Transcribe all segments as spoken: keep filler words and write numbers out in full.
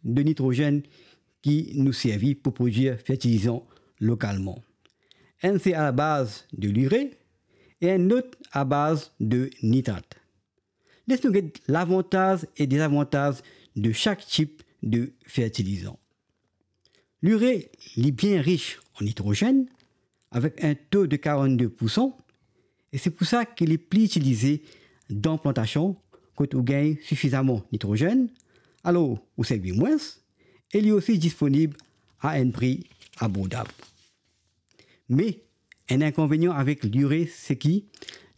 de nitrozenn ki nou servi pou prodwir fertilizan lokalman. Enn se a baz de lire e enn lot a baz de nitrat. Les nou get lavantaz e dezavantaz de sak tip de fertilizan. Lire, li bien ris an nitrozenn, avek enn to de karannde pou san, e se pou sa ki li pli itilize dan plantasion kot ou gagn sifizaman nitrozenn, alor ou servi mwins, e li osi disponib a enn pri abordab. Me, enn inkonvenian avek lire, se ki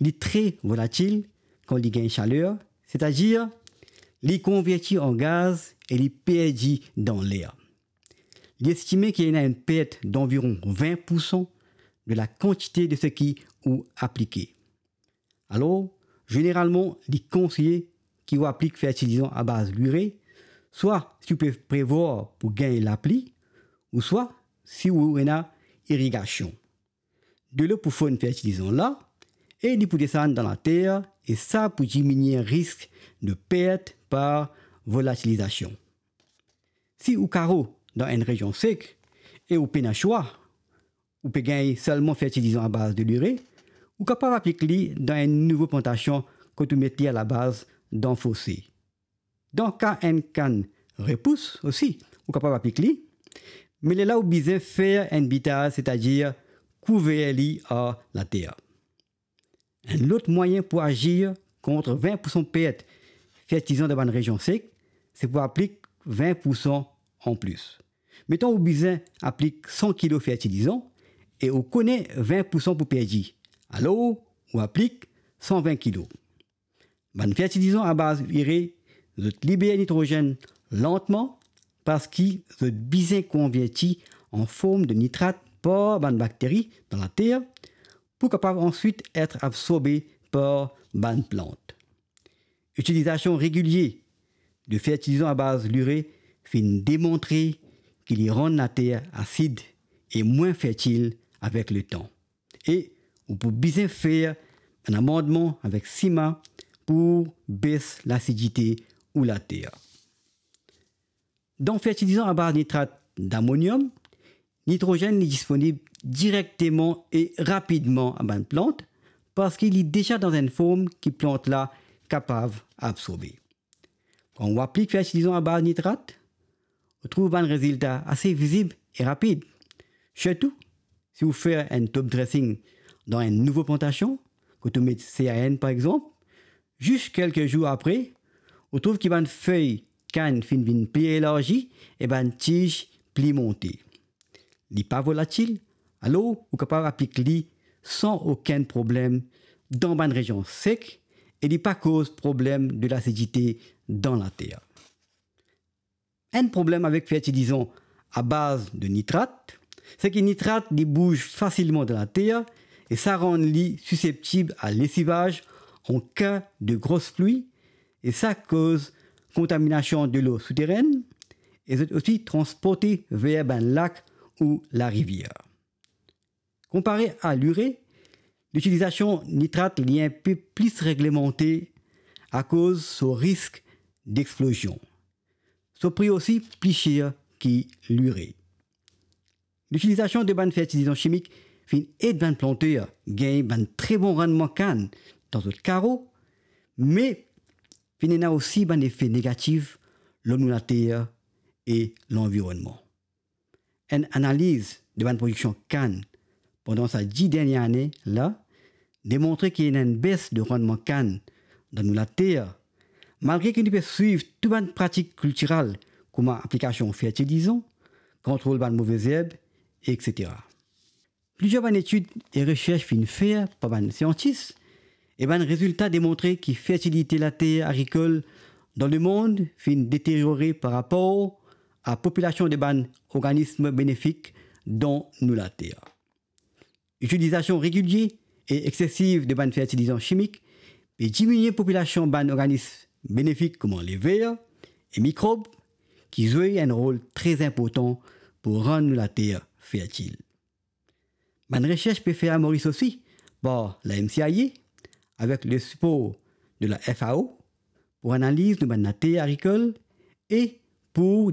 li tre volatil kan li gagn saler, setadir li konverti an gaz e li perdi dan ler. Li estime ki ena enn pert danviron vin pou san de la kantite de seki ou aplike. Alor, zeneralman, li konseye ki ou aplik fertilizan a baz lire, swa si ou pe prevwar pou gagn lapli, ouswa si ou ena irigasion. Delo pou fonn fertilizan la, e li pou desann dan later, e sa pou diminie risk de pert par volatilizasion. Si ou karo dan enn rezion sek e ou pena swa, ou pe gagn selman fertilizan a baz de lire, ou kapav aplik li dan enn nouvo plantasion kot ou met li alabaz dan fose. Dan ka enn kann repous osi, ou kapav aplik li, me lerla ou bizin fer enn bitaz, setadir kouver li ar later. Enn lot mwayin pou azir kont vin pou san pert fertilizan dan bann rezion sek, se pou aplik vin pou san anplis. Meton ou bizin aplik san kilo fertilizan e ou kone vin pou san pou perdi, alor ou aplik san vin kilo. Bann fertilizan a baz ire, zot liber nitrozenn lantman parski zot bizin konverti an form de nitrat par bann bakteri dan later pou kapav answit et absorbe par bann plant. Itilizasion regilie de fertilizan a baz lire finn demontre ki li rann later asid e mwin fertil avek letan. E ou pou bizin fer enn amandman avek sima pou bes lasidite ou later. Dan fertilizan a baz nitrat damoniom, nitrozenn li disponib direkteman e rapidman a bann plant, parski li deza dan enn form ki plant la kapav absorbe. Kan ou aplik fertilizan a baz nitrat, ou trouv bann rezilta ase vizib e rapid. Sirtou, si ou fer enn top dressing dan enn nouvo plantasion, kot ou met C A N par exanp, zis kelke zour apre, ou trouv ki bann fey kann finn vinn pli elarzi e bann tiz pli monte. Li pa volatil, alor ou kapav aplik li san okenn problem dan bann rezion sek e li pa koz problem de lasidite dan later. Enn problem avek fertilizan a baz de nitrat, se ki nitrat li bouz fasilman dan later e sa rann li siseptib a lesivaz an ka de gros pli e sa koz kontaminasion delo souterenn e zot osi transporte ver bann lak ou larivier. Konpare a lire, litilizasion nitrat li enpe plis reglemante akoz so risk dexplozion. So pri osi pli ser ki lire. Litilizasion de bann fertilizan simik finn ed bann planter gagn bann tre bon rannman kann dan zot karo, me finn ena osi bann efe negatif lor nou later e lanvironnman. Enn analiz de bann prodiksion kann pandan sa dis dernie ane la demontre ki ena enn bes de rannman kann dan nou later, malgre ki nou pe swiv tou bann pratik kiltiral kouma aplikasion fertilizan, kontrol bann move zerb, etsetera. Plizier bann etid e resers finn fer par bann siantis, e bann rezilta demontre ki fertilite later agrikol dan lemond finn deteriore par rapor a popilasion de bann organism benefik dan nou later. Itilizasion regilie e exsesiv de bann fertilizan simik pe diminie popilasion bann organism benefik kouma lever e mikrob, ki zwe enn rol tre inportan pou rann nou later fertil. Bann resers pe fer a Moris osi par la M C I A avek le sipor de la F A O pou analiz nou bann later agrikol e pou